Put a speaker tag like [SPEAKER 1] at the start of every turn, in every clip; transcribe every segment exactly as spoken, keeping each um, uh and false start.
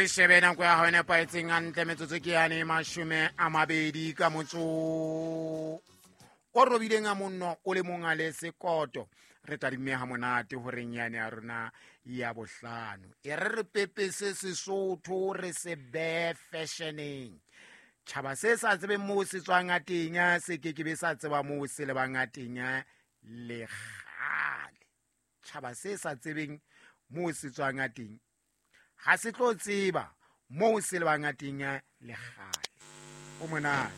[SPEAKER 1] Re shebe nako ya hao e nepahetseng hantle metsotso ke yane mashome a mabedi ka motso o robileng a monno o le mong a le sekoto. Re tadimme ha monate horeng yane ya rona ya bohlano. E re re pepese Sesotho re se behe fashioneng. Tjhaba se sa tsebeng moo se tswang a teng se ke ke be sa tseba moo se lebang a teng le kgale. Tjhaba se sa tsebeng moo se tswang a teng ha se tlo tseba moo se lebang a teng le kgale. O monate.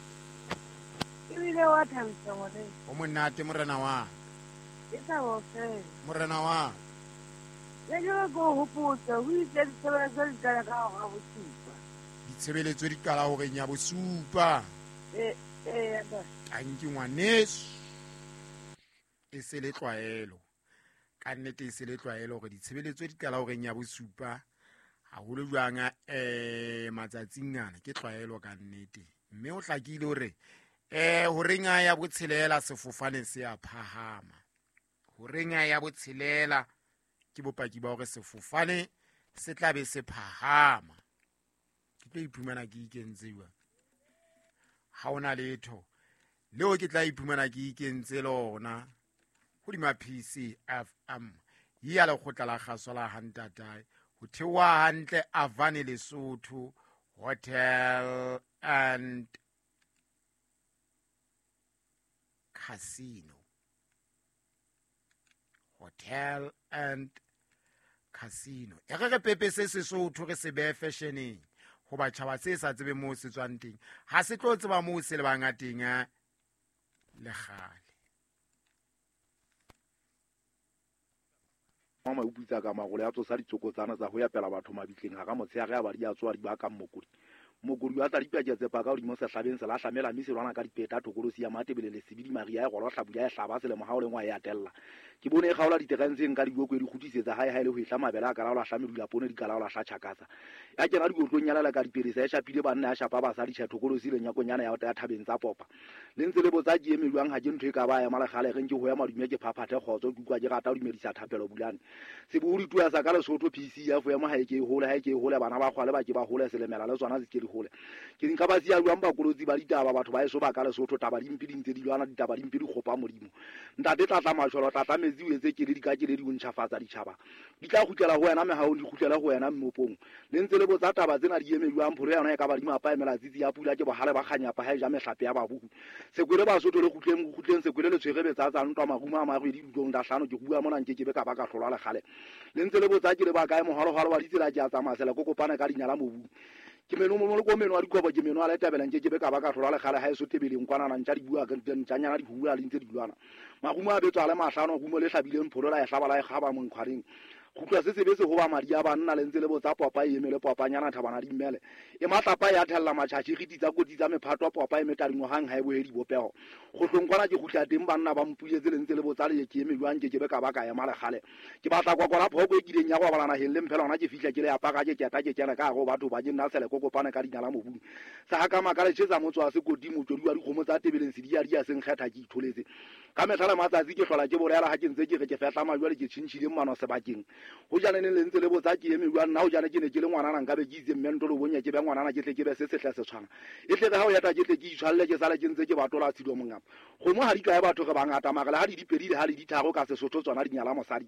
[SPEAKER 2] Ebile wa thabisa ngwane.
[SPEAKER 1] O monate morena wa.
[SPEAKER 2] E thabo fela.
[SPEAKER 1] Morena wa.
[SPEAKER 2] Le ke go hopotsa ho itse ditshebeletso di qala ka hora bosupa.
[SPEAKER 1] Ditshebeletso di qala horeng ya bosupa.
[SPEAKER 2] Eh eh ba.
[SPEAKER 1] Tanki ngwaneso. E se le tlwaelo. Ka nnete e se le tlwaelo hore ditshebeletso di qala horeng ya bosupa. Haholo jwang eh matsatsing ana ke tlwaelo ka nnete. Mme o hlakile hore eh horeng ya botshelela sefofane se a phahama. Horeng ya botshelela ke bopaki ba hore sefofane se tla be se phahama. Ke tlo iphumana ke ikentse jwang? Ha hona letho leo ke tla iphumana ke ikentse lona hodima P C F M ya lekgotla la kgaso la Hantatae ho theoha hantle Avane Lesotho Hotel and Casino. Hotel and Casino. E re re pepese Sesotho re se behe fashioneng. Hoba tjhaba se sa tsebe moo se tswang teng ha se tlo tseba moo se lebang a teng le kgale.
[SPEAKER 3] Mama o putsa ka magolo ya tsosa ditsokotsana tsa ho ya pela batho mabitleng ha ka motshehare a ba di a tswa di ba ka mmokodi. Mokodi wa tsa dipaketse paka hodimo sehlabeng se lahlamela mme se lwana ka dipeta thokolosi ya Matebele le Sebidi Maria e golo hlabula e hlaba selemo ha o lengwa e atella. Ke bone e kgaola diterentseng ka diboko e di kgutlisetsa hae hae le ho ehla mabele a kalaola hla medula poone di kalaola hla tjhakasa. Ya kena dikotlong ya lela ka dipelesa e shapile banna ya shapa basadi tjhe thokolosi le nyakonyana ya ya thabeng tsa popa. Le ntse le botsa ke eme jwang ha ke ntho e ka ba ya malekgale re nke ho ya madume ke phaphathe kgotso ke utlwa ke rata ho dumedisa thapelo bulane. Sebohodi tua sa ka Lesotho P C F ya mo ha e ke e hole ha e ke e hole bana ba kgwale ba ke ba hole selemela le tsona se ke di hole. Ke nka ba siya jwang bakolotsi ba ditaba batho ba eso ba ka Lesotho taba dimpe di ntse di lwana ditaba dimpe di kgopa Modimo. Ntate tlatla masholo tlatla metsi o etse keledi ka keledi o ntjhafatsa ditjhaba. Di tla kgutlela ho wena mehahong di kgutlele ho wena mmopong. Le ntse le botsa taba tsena di eme jwang pholo yona e ka ba di mapa emela tsitsi ya pula ke bohale ba kganyapa ha e ja mehlape ya babuku. Sekwele Basotho le kgutleng kgutleng sekwele le tshwere betsa tsa ntwa marumo a marwedi dulong da hlano ke bua mona nke ke be ka ba ka hlolwa le kgale. Le ntse le botsa ke le ba kae moholoholo wa ditsela ke a tsamaya sela ko kopana ka dinyala mobung. Ke meno mo mo meno a dikobo ke meno a le tabela nke ke be ka ba ka hlolwa le kgale ha e so tebeleng kwana na ntja di bua ka ntjanyana di bua le ntse di lwana. Marumo a betswa le mahlano rumo le hlabileng pholo la e hlaba la e kgaba monkgwareng. Kgutlwa se sebe se hoba madi a banna le ntse le botsa popa e emele popanyana thabana di mmele. E matlapa ya thella matjhatjhi re ditsa kotsi tsa mephato popa e metadingwagang ha e bohe dibopeho. Kgohlong kwana ke kgutla teng banna ba mpuletse le ntse le botsa le ke eme jwang ke ke be ka ba ka ema le kgale. Ke batla kwakwala phoko e kileng ya go bala naheng le mphela hona ke fihla ke le apara ke keta ke kena ka go batho ba ke nna sele kokopane ka dinala mobung. Sa ha ka makale tjhetsa motso wa sekoti motswedi wa dikgomo tsa tebeleng sedi ya di ya seng kgetha ke itholetse. Ka mehla le matsatsi ke hlola ke bolela ha ke ntse ke re ke fehla majwale ke tjhintjhile mmano sebakeng. Ho jane ne le ntse le botsa ke eme jwang nna ho jane ke ne ke le ngwanana nka be ke itse mme ntolo bonya ke be ngwanana ke tle ke be se sehle se tshwana. E tle re ha o yata ke tle ke itshwalle ke sale ke ntse ke batola tshido mongapa. Kgomo ha di kae batho re bangata mara le ha di dipedi le ha le ditharo ka Sesotho tsona di nyala mosadi.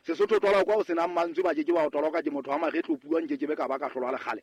[SPEAKER 3] Sesotho twala kwa o senang mantswe ba ke ke ba o toloka ke motho wa magetlo puang ke ke be ka ba ka hlolwa le kgale.